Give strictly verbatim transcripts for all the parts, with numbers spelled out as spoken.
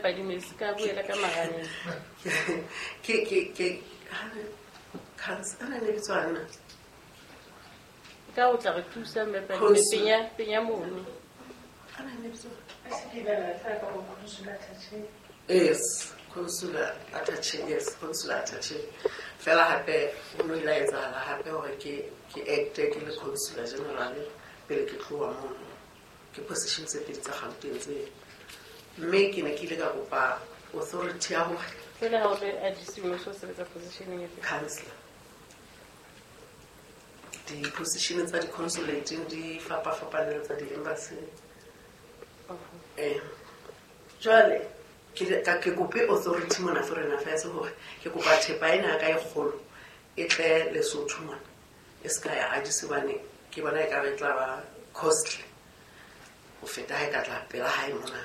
Padime se ka buela ka maraneng. Ke ke ke council ana ne bitswana. Ka o tla re thusa mme Padime penya penya mono. Ana ne bitswana. Yes, consular attaché, yes, consular attaché. Fela hape ho no ile etsahala hape hore ke ke acte ke le consular general pele ke tloha mono. Ke position tse pedi tsa Gauteng tse. Mme ke ne ke ile ka kopa authority ya hore fela ha o le A D C o so sebetsa position e fe? Councillor. Di-position tsa di-consulate di fapafapane le tsa di-embassy. Eh, jwale ke ka ke kope authority mona Foreign Affairs hore ke kopa thepa ena ya ka e kgolo e tle Lesotho mona e se ka ya Addis hobane ke bona e ka re tla ba costly ho feta ha e ka tla pela hae mona.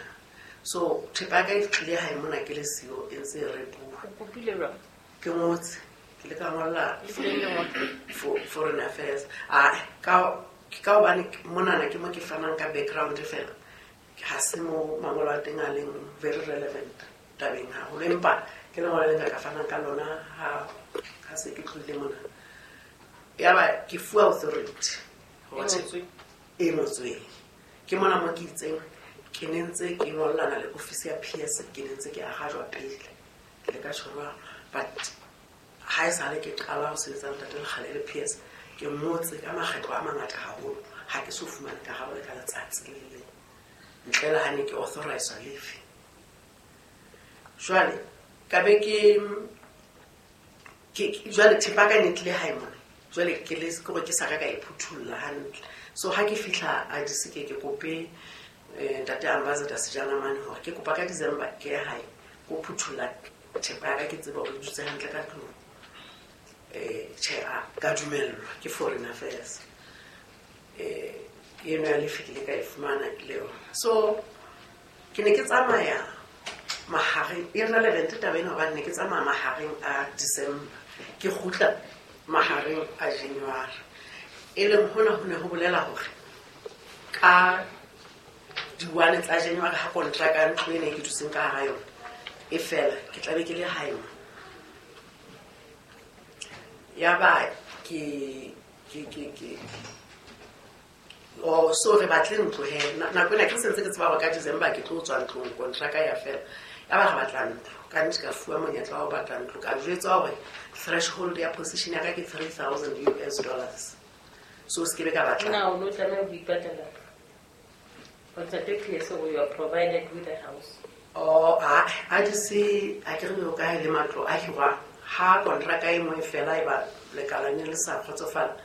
So thepa ya ka e tlile hae mona ke le siyo e ntse e repuwa. O kopile jwang? Ke ngotse, ke le ka ngolla Le tlile lengolo? Foreign Affairs. Ah, ka ka hobane monana ke mo ke fanang ka background fela. Ha se mo mangolo a teng a leng very relevant tabeng haholo, empa ke lengolo le nka ka fanang ka lona ha ha se ke tlohile mona. Yaba ke fuwa authority E ngotsweng. E ngotsweng. Ke mona mo ke itseng ke ne ntse ke ngollana le office ya P S, ke ne ntse ke arajwa pele. Ke le ka tjho jwalo, but ha e sale ke qala ho sebetsa le Ntate Lekgale le P S, ke ngotse ka makgetlo a mangata haholo. Ha ke so fumane karabo le ka letsatsi le le leng. Ntle le ha ne ke authorize leave. Jwale ka be ke ke jwale thepa ka ne tlile hae mona. Jwale ke le ke hore ke sa ka ka e phuthulla hantle. So ha ke fihla Addis ke ke kope, eh, Ntate Ambassador Sejana mane hore ke kopa ka December ke ye hae ko phuthulla thepa ya ka, ke tsebe hore e dutse hantle ka tlung. Eh, tjhe, a ka dumellwa ke Foreign Affairs. Eh, eno ya lefe ke ile ka e fumana le yona. So ke ne ke tsamaya mahareng, e relevant taba ena hobane ne ke tsamaya mahareng a December, ke kgutla mahareng a January. E leng hona ho ne ho bolela hore ka di-one tsa January ha kontraka ya ntlo ena e ke dutseng ka hara yona e fela, ke tla be ke le hae mona. Yaba ke, ke, ke, ke oh, so re batle ntlo he. Na-, nako ena ke sentse ke tseba hore ka December ke tlo tswa ntlong, kontraka ya fela. Yaba re batla ntlo. Ka nnete ka fuwa monyetla wa ho batla ntlo. Ka jwetswa hore threshold ya position ya ka ke three thousand U S dollars. So se ke be ka batla. Na o no tlameha ho ipatlela? O Ntate P S o you are provided with a house. Oh, a, a di se, a ke re o kae le matlo a hirwang. Ha kontraka e nngwe fela e ba lekala ne le sa kgotsofala.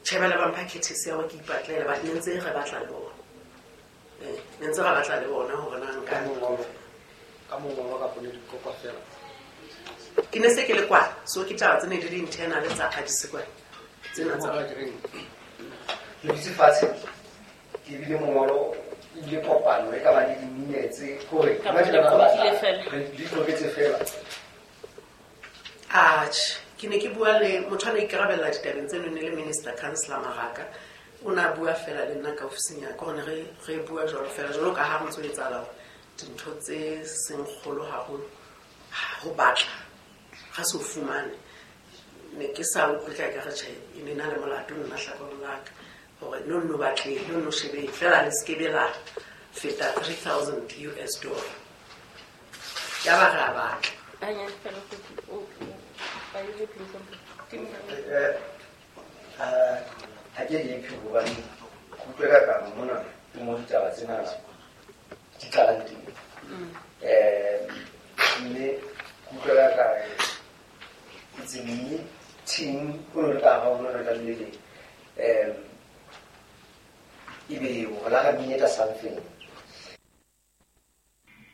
Tjhe, ba le ba mpha courtesy ya hore ke ipatlele, but ne ntse re batla le bona. Eh, ne ntse re batla le bona hore na nka Ka mongolo, ka mongolo kapa ne di kopa fela. Ke ne se ke le kwa, so ke taba tse ne di le internal tsa Addis kwana. Tsena tsa Mongolo ke reng? Le dutse fatshe, ke bile mongolo, ebile kopano e ka ba le di-minutes, hore Kapa imagine le ba batla, qoqile fela. re di qoqetse fela. Atjhe, ke ne ke bua le motho a ne ikarabella ditabeng tseno, ne le Minister Councillor Maraka. O ne a bua fela le nna ka ofising ya ka, hore re, re bua jwalo fela, jwalo ka ha re ntso etsahala hore dintho tse seng kgolo haholo, ho batla, ga se o fumane. Ne ke sa utlwe ka ka re tjhe, e ne na le molato nna hlakoreng la ka, hore no nno batleng, no nno shebeng, fela le se ke be la feta three thousand U S dollar. Ya ba re a batla. Anya, fela go o, o, are you looking something? Eh, ah, ha ke happy hobane ke utlwela ka mona ke mo ditaba tsena di tlalang teng. Mm. Eh, mme ke utlwela ka it's a meeting o no le ka ha o no le ka le le. Eh, ebe o la ka menyetla something.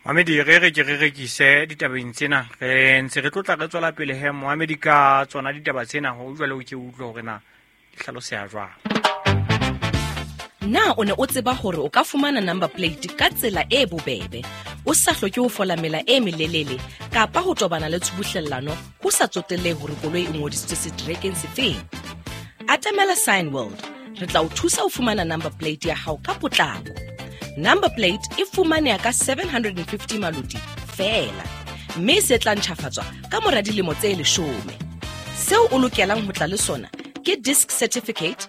Mohamedi, re re ke re rekise ditabeng tsena, re ntse re tlotla re tswela pele he Mohamedi ka tsona ditaba tsena, ho jwale o ke utlwe hore na di hlaloseha jwang. Na o ne o tseba hore o ka fumana number plate ka tsela e bobebe, o sa hloke ho fola mela e melelele kapa ho tobana le tshubuhlellano ho sa tsotellehe hore koloi e ngodisitswe seterekeng sefeng? Atamela Sign World, re tla o thusa ho fumana number plate ya hao ka potlako. Number plate e fumaneha ka seven hundred and fifty maloti feela, mme se tla ntjhafatswa ka mora dilemo tse leshome. Seo o lokelang ho tla le sona ke disc certificate,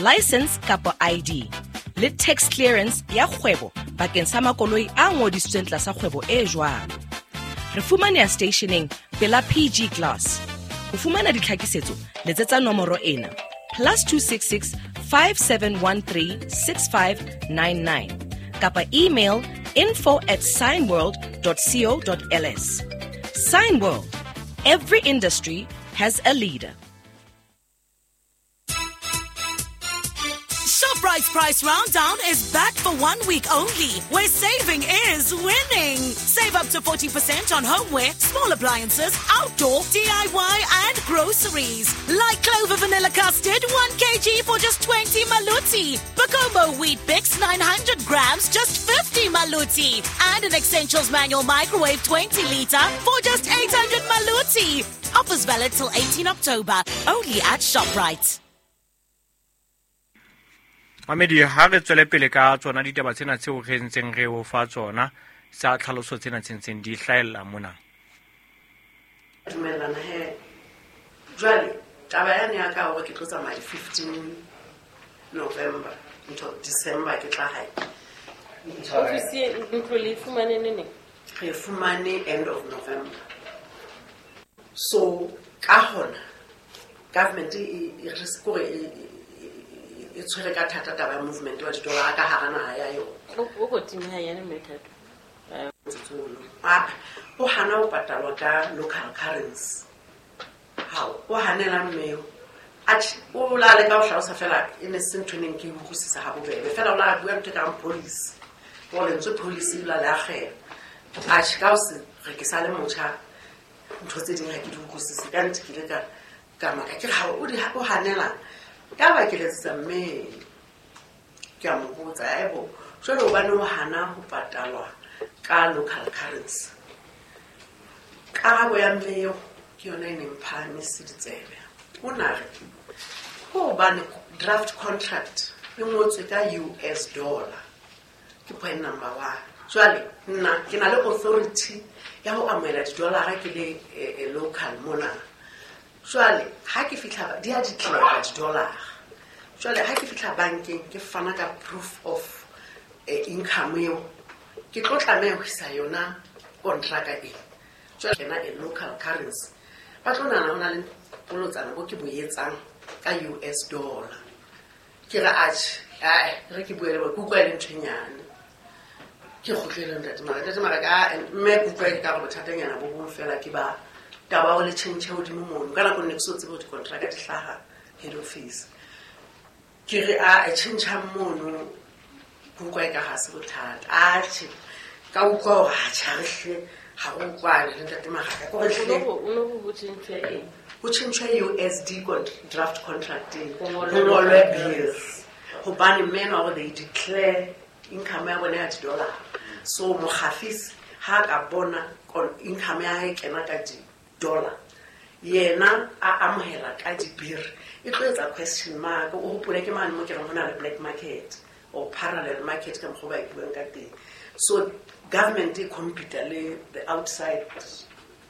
license kapa I D, le tax clearance ya kgwebo bakeng sa makoloi a ngodisitsweng tlasa kgwebo e jwalo. Re fumaneha stationeng pela P G Glass. Ho fumana ditlhakisetso letsetsa nomoro ena plus two six six five seven one three six five nine nine kapa email info at signworld dot co dot l s. Signworld, every industry has a leader. ShopRite's Price Rounddown is back for one week only, where saving is winning. Save up to forty percent on homeware, small appliances, outdoor, D I Y and groceries. Like Clover Vanilla Custard, one kilogram for just twenty maluti. Bacomo Wheat Bix, nine hundred grams, just fifty maluti. And an Essentials Manual Microwave twenty litre for just eight hundred maluti. Offers valid till eighteenth October, only at ShopRite. Mamedi, ha re tswele pele ka tsona ditaba tsena tseo re ntseng re o fa tsona tsa tlhaloso tsena tse ntseng di hlahella mona. Dumellana he. Jwale taba yane ya ka hore ke tlo tsamaya fifteen November ntho December ke tla hae. Ofisi ntlo le fumane neng? Re fumane end of November. So ka hona government e re sekore e e tshwere ka thata taba ya movement wa didolara ka hara naha ya yona. O kotsing ha yana methato. Ah, o hana ho patalwa ka local currency. Hao, o hanela mmeo. Atjhe, o la le ka ho hlalosa fela e ne se ntho e neng ke e utlwisisa ha bobebe. Fela o la bua ntho e kareng policy. O lentswe policy la le akgela. Atjhe, ka ho se re ke sa le motjha ntho tse ding ha ke di utlwisise. Ka nnete ke ile ka ka maka ke re ha o di o hanela. Ka ba ke letsetsa mme ke a mo botsa, aebo jwale hobane o hana ho patalwa ka local currency. Karabo ya mme eo ke yona e neng phahamise ditsebe. O na re hobane draft contract e ngotswe ka U S dollar ke point number one. Jwale nna ke na le authority ya ho amohela didolara ke le e, e local mona. Jwale ha ke fihla di a declare di-dollar. Jwale ha ke fihla bankeng ke fana ka proof of eh, income eo ke tlo tlameha ho isa yona kontraka e. Jwale kena a local currency. Ba tlo nahana ho na le bolotsana bo ke bo etsang ka U S dollar. Ke re atjhe, ai re ke bue le bona, ke utlwa e le ntho e nyane. Ke kgutlele ntate Mara, ntate Mara ka mme ke utlwa e ka re bothatanyana bo bong fela ke ba taba o le tjhentjhe hodimo mono. Ka nako nne ke so tsebe hore dikontraka di hlaha head office. Ke re a tjhentjha mono ke utlwa e ka ha se bothata. Atjhe, ka utlwa hore atjhe ha re hle ha re utlwane le ntate Maraka. Ke hore hle O no ho tjhentjhwe eng? Ho tjhentjhwe U S D draft contract eng. Ho ngolwe bills. Hobane mme enwa hore they declare income ya bona ya di-dollar. So mokgafisi ha ka bona income ya hae kena ka di dollar yena a amohela ka dibiri e tlo etsa question mark. O hopole ke mane mo ke reng ho na le black market or parallel market ka mokgwa ba e buang ka teng. So government e compete le the outside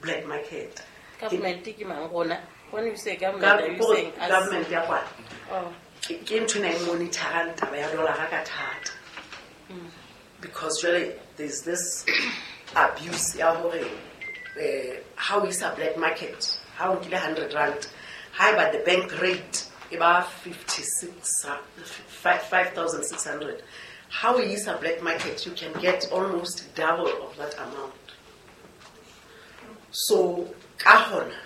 black market. Government ke mang rona? When you say government, are you saying us? Government ya kwana. Oh. Ke ntho ena e monitorang taba ya dollar ka thata. Because really there's this abuse ya hore eh how is a black market ha o nkile hundred rand haeba the bank rate e ba fifty-six five thousand six hundred, how is a black market you can get almost double of that amount. So ka hona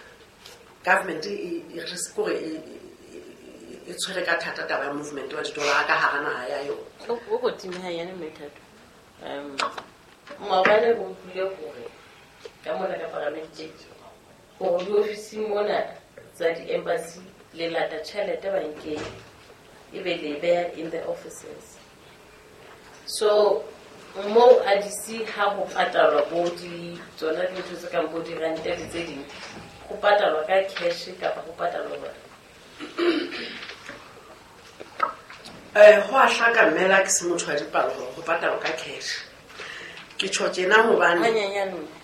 government e re sekore e e tshwere ka thata taba ya movement wa didolara ka hara naha ya yona. O kotsing ha yana methato. Um maobane re utlwile hore ka mona ka parlamenteng hore diofising mona tsa di-embassy le lata tjhelete bankeng ebe le beha in the offices. So mo A D C ha ho patalwa bo di tsona dintho tse kang bo dirente le tse ding, ho patalwa ka cash kapa ho patalwa jwang? Eh ho a hlaka mmela ke se motho wa dipalo hore ho patalwa ka cash. Ke tjho tjena hobane Hanyenyane.